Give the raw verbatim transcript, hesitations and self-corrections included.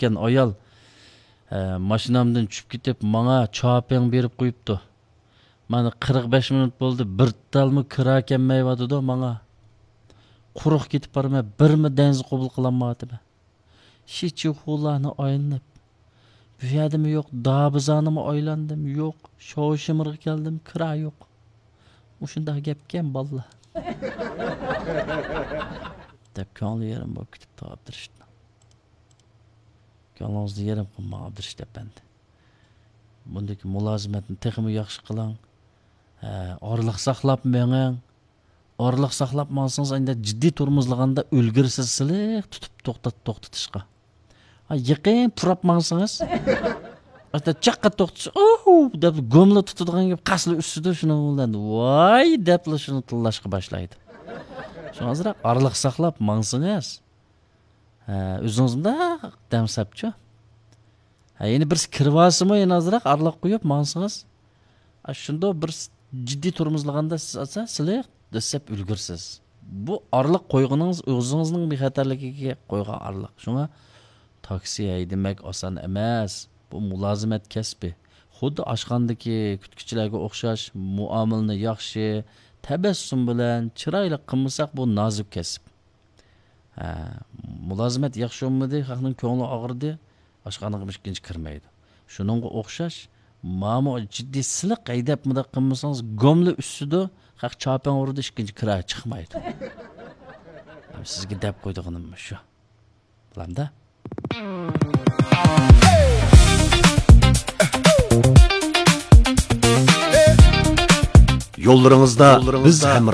ئىكەن ئايال. ھە، ماشىنامدىن چۈشۈپ كېتىپ، ماڭا چاپىڭ بېرىپ قويۇپتۇ. مانا قىرىق بەش مىنۇت بولدى، بىر تالمۇ كىرا كەلمەيۋاتىدۇ ماڭا. قۇرۇق كېتىپ بارىمەن، بىرمۇ دەنزە قوبۇل قىلالمايۋاتىمەن. شىچىخۇلارنى ئايلىنىپ، بۇ يەردىمۇ يوق، دابىزانىمۇ ئايلاندىم، يوق، شاۋشىمىرغا كەلدىم، كىرا يوق. مۇشۇنداق گەپكەن، بالىلار. دەپ كۆڭلى يېرىم بولۇپ كېتىپتۇ ئابدۇرېشىتنىڭ. كۆڭلىڭىزنى يېرىم قىلماڭ، ئابدۇرېشىت ئەپەندى. بۇندىكى مۇلازىمەتنى تېخىمۇ ياخشى قىلىڭ. ھە، ئارىلىق ساقلاپ مېڭىڭ. ئارىلىق ساقلاپ ماڭسىڭىز، ئەندى جىددىي تورمۇزلىغاندا ئۈلگۈرىسىز سىلىق تۇتۇپ توختات-، توختىتىشقا. ھە، يېقىن پۇراپ ماڭسىڭىز، ئەتە چاققا توختىتىش، «ئوو!» دەپ گوملا تۇتىدىغان گەپ قاسلا ئۈسسىدۇ، شۇنىڭ بىلەن «ۋاي!» دەپلا شۇنى تىللاشقا باشلايدۇ. شۇڭا ئازراق ئارىلىق ساقلاپ ماڭسىڭىز، ھە، ئۆزىڭىز مۇنداق دەم سەپچۇ. ھە، يەنە بىرسى كىرىۋالسىمۇ، يەنە ئازراق ئارىلىق قويۇپ ماڭسىڭىز، ھە، شۇنداق بىر س-، جىددىي تورمۇزلىغاندا سىز ئالسا سىلىق دەسسەپ ئۈلگۈرسىز. بۇ ئارىلىق قويغىنىڭىز ئۆزىڭىزنىڭ بىخەتەرلىكىگە قويغان ئارىلىق. شۇڭا تاكسى ھەيدىمەك ئاسان ئەمەس. بۇ مۇلازىمەت كەسپى. خۇددى ئاشخانىدىكى كۈتكۈچىلەرگە ئوخشاش، مۇئامىلىنى ياخشى، تەبەسسۇم بىلەن، چىرايلىق قىلمىساق، بۇ نازۇك كەسىپ. ھە، مۇلازىمەت ياخشى بولمىدى، خەقنىڭ كۆڭلى ئاغرىدى، ئاشخانىغا ئىككىنچى كىرمەيدۇ. شۇنىڭغا ئوخشاش، مانا جىددىي سىلىق ھەيدەپ مۇنداق قىلمىسىڭىز، گوملا ئۈسسىدۇ، خەق چاپىڭ ئۇرىدۇ، ئىككىنچى كىرا چىقمايدۇ. سىزگە دەپ قويىدىغىنىم شۇ. بولامدا؟ يوللىرىڭىزدا بىز ھەم